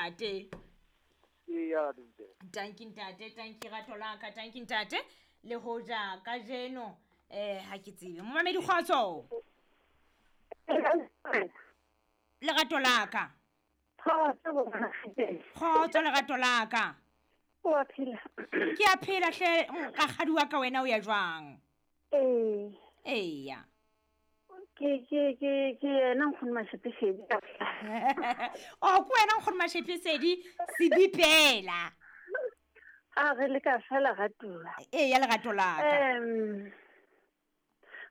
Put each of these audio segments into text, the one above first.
ntate. Eya, ntate. Tanki ntate, tanki rato la ka, tanki ntate. Le hoja kajeno ha ke tsebe. Momamedi kgotso. Lerato la ka. Kgotso lerato la ka. O a phela. Ke a phela hle rakgadi wa ka wena o ya jwang? Ee. Eya. Ke ke ke ke yena nkgono Mashepesedi. O ke wena nkgono Mashepesedi sebipela. A re le ka fela ratuwa. Eya lerato la ka.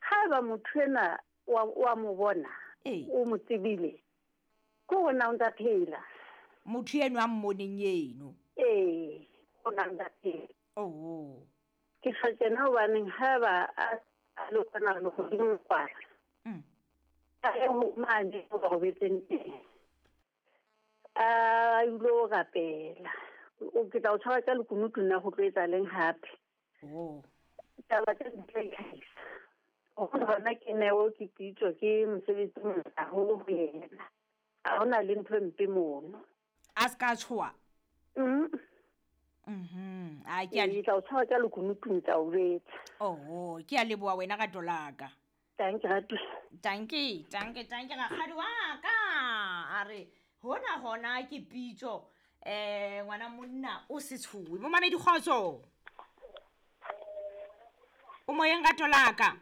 Haeba motho ena wa mo bona, o mo tsebile, ke hore na o ntsa phela. Motho eno a mmoneng eno. Ee, o na ntsa phela. Oh. Ke tjho tjena hobaneng haeba a le kwana lehodimong kwana. A ye ho mane ho ba robetseng teng. A ilo rapela. O ke tla o tshwara ka lekunutu nna ho tlo etsa leng hape. Oh. Taba tse di tla itlhahisa. Hore hona ke neo ke pitso ke mosebetsi o motle haholo ho yena. Ha hona le ntho e mpe mono. A se ka tshoha? A ke a Ke tla o tshwara ka lekunutu tla o jwetsa. Oh, ke a leboha wena rato la ka. Tanki ratu. Tanki, tanki, tanki rakgadi wa ka. A re hona hona ke pitso. Ngwana monna o se tshohe. Momamedi kgotso. O moyeng rato la ka.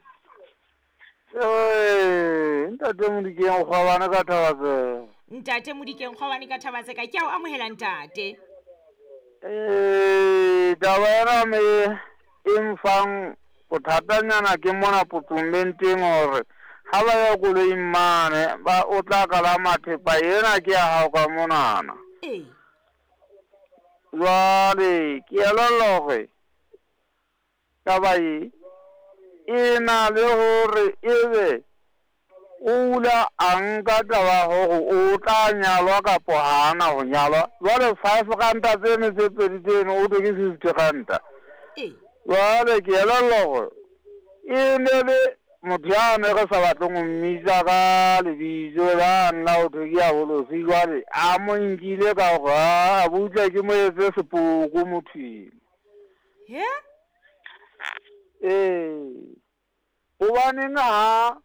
Ntate Modikeng Kgwabane ka Thabatseka. Ntate Modikeng Kgwabane ka Thabatseka, ke a o amohela ntate. Taba ena me e mfang bothatanyana ke mona potomenteng hore ha ba ya koloing mane ba o tla kalama thepa ena ke ya hao ka monana. Ee. Jwale ke elellwa hore taba e e na le hore ebe o ula a nka taba hore o tla nyalwa kapo ha ana ho nyalwa. Jwale 5 ranta tseno tse pedi tseno o thwe ke 50 ranta. Ee. Jwale ke elellwa hore e ne le motho yane re sa batleng ho mmitsa ka lebitso la nna ho thwe ke ya bolosi. Jwale a mo nkile ka hore a butle ke mo etse sepoko motho eno. He? Ee. Hobaneng ha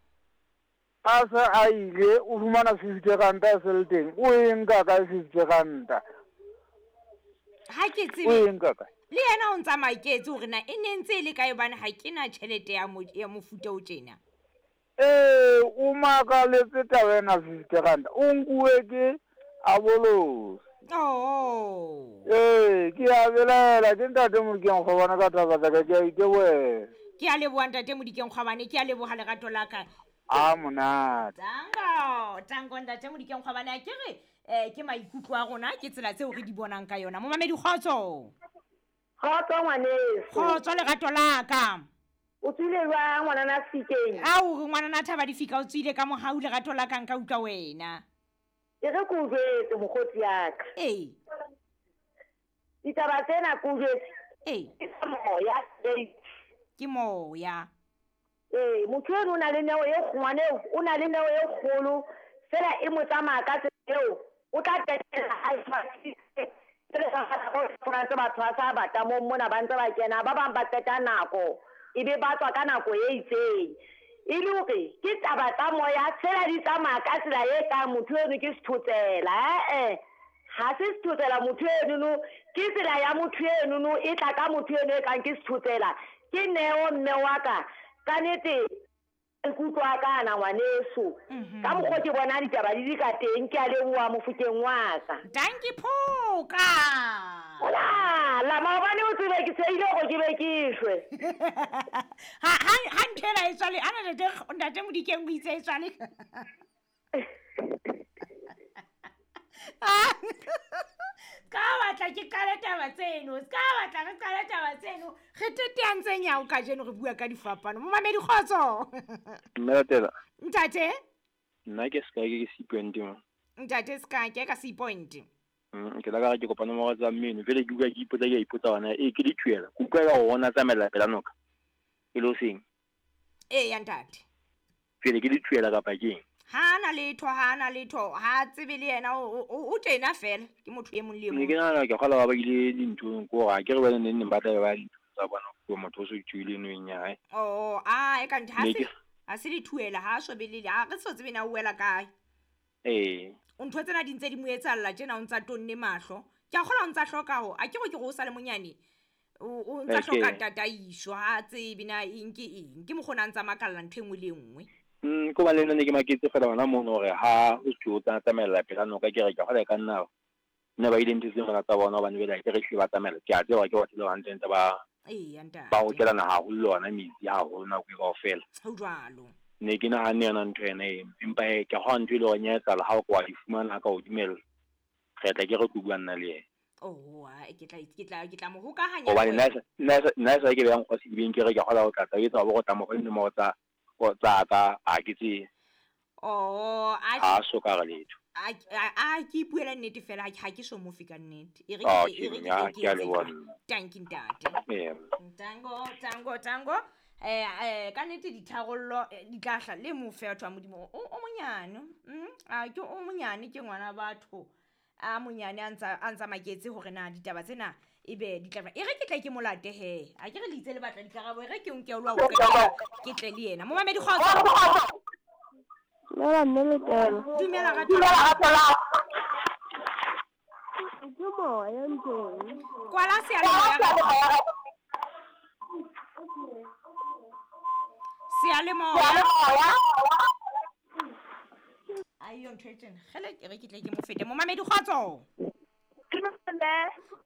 a se a ile o fumana 50 ranta e se le teng, o e nka kae 50 ranta? Ha ke tsebe. O e nka kae? Le yena o ntsa maketse hore na e ne ntse e le kae hobane ha ke na tjhelete ya ya mofuta o tjena. Ee, o makaletse taba ena 50 ranta. O nkuwe ke abolosi. Oh. Ee, ke a belaela ke ntate Modikeng Kgwabane ka taba tsa ka, ke a itebohela. Ke a leboha ntate Modikeng Kgwabane, ke a leboha lerato la ka. A monate. Tango, tango ntate Modikeng Kgwabane, a ke re ke maikutlo a rona, ke tsela tseo re di bonang ka yona. Momamedi kgotso. Kgotso ngwaneso. Kgotso lerato la ka. O tswile jwang ngwanana Fikeng? Ao re ngwanana Thaba Difika o tswile ka mohau lerato la ka nka utlwa wena. E re ke o jwetse mokgotsi ya ka. Ee. Ditaba tsena ke o jwetse. Ee. Ke tsa moya, Ke moya. Ee, motho eno o na le neo e ngwana eo, o na le neo e kgolo, fela e mo tsamaya ka tsela eo, o tla qetella a e tse batho ba sa bata mo mona ba ntse ba kena, ba bang ba qeta nako, ebe ba tswa ka nako e itseng. E le hore ke taba tsa moya, fela di tsamaya ka tsela e kang motho eno ke sethotsela, Ha se sethotsela motho enono, ke tsela ya motho enono, e tla ka motho eno e kang ke sethotsela. Ke neo mme wa ka, ka nete ikutlwa ka ana ngwaneso. Ka mokgwa ke bona ditaba di di ka teng, ke a leboha mofokeng wa ka. Dankie Phoka. Hola, la maobane o tsebe ke tshehile hore ke be ke shwe. Ha ha ha ntho ena e tswale, ana ntate Modikeng o itse e tswale. Ka batla ke qale taba tseno, ska batla re qale taba tseno. Re teteantseng ya o kajeno re bua ka difapano. Momamedi kgotso. Mme Latela. Ntate. Nna ke Sky ke C point mo. Ntate Sky ke ka C point. Ke la ka re ke kopa nomoro tsa mmino, jwale ke utlwa ke ipotsa, ke a ipotsa hona, ee ke dithuela. Ke utlwa ka hore ona tsamaella pela noka. E le hoseng. Ee ya ntate. Jwale ke dithuela kapa ke eng? Ha na letho, ha na letho, ha tsebe le yena o tena fela, ke motho e mong le e Ne ke mong. nahana ke kgolwa ba ile dinthong ko hore ha ke re bane neng neng ba tla be ba ya dinthong tsa bona ho motho o so ithuile nweng ya hae. Oh, a e ka ntho ha Ne se ke ha se dithuela, ha so be le ha re so tsebe na o wela kae. Ee. Ntho tsena di ntse di mo etsahalla tjena, o ntsa tonne mahlo. Ke a kgolwa o ntsa hloka ho, a ke re ke re o sa le monyane. O ntsa hloka tataiso, ha tsebe na eng ke eng. Ke mokgwa o na ntsa makalla ntho e nngwe le e nngwe. Ko ba le nna ne ke maketse fela hona mono hore ha o se o tsa tsamaella pela noka, ke re ke kgolwa e ka nna ne ba ile ntho tse mona tsa bona hobane jwale ha ke re hlile ba tsamaella. Ke a tseba hore ke batho le hantle ntse ba Eya ntate. ba hokelana haholo le ona metsi haholo nako e kaofela. Ho jwalo. Ne ke nahanne yona ntho ena eno, empa hee ke kgolwa ntho e le hore ya etsahala ha o ka wa di fumana ka o dumella. Re tla ke re tlo bua nna le yena. Oh, ha ke tla ke tla ke tla mo hokahanya Hobane le nna nna e sa ke beha nkgo sedibeng, ke re ke kgolwa ho tla tla etsa hore o tla mo fa dinomoro tsa tsa ka, ha ke tsebe. Oh, a Ha so ka re letho. A ke ipuela nnete fela, ha ke so mo fe ka nnete. E re Ah, ke e re ke ke ya ke ke a etse leboha jwang. nna. Tanki ntate. Ee. Tango, tango, tango. Ka nnete ditharollo di tla hla le mo fe batho ba Modimo. O monyane. A ke o monyane, ke ngwana batho. A monyane a ntsa maketse hore na ditaba tsena ebe di tla e re ke tle ke molate he. A ke re le itse le batla dikarabo, e re ke nke o lo ke tle le yena. Momamedi kgotso. Dumela mme Letelo. Dumela rato. Ke moya ntlong. Kwala seyalemoya. Seyalemoya. Ayo ntho e tjena. Kgele ke re ke tle ke mo fete. Momamedi kgotso.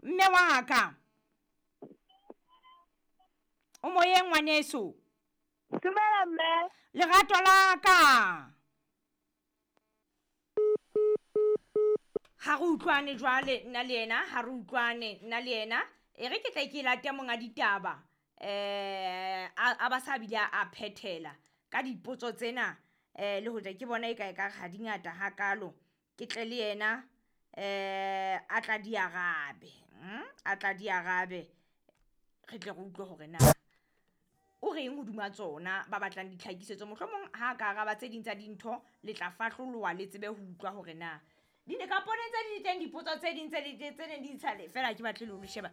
Mme wa ka. O moyeng ngwaneso. Dumela mme. Lerato la ka. Ha re utlwane jwale nna le yena, ha re utlwane nna le yena. E re ke tle ke late monga ditaba. A ba sa bile a phethela ka dipotso tsena, le hoja ke bona e ka e ka ha di ngata hakalo. Ke tle le yena, a tla di arabe. A tla di arabe. Re tle re utlwe hore na o reng hodima tsona ba batlang ditlhakisetso. Mohlomong ha ka araba tse ding tsa dintho le tla fahloloha le tsebe ho utlwa hore na di ne ka pone tse di teng dipotso tse ding tse di tse neng di tshale fela ke batle le ho sheba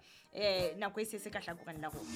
nako e se se ka hlakoreng la rona.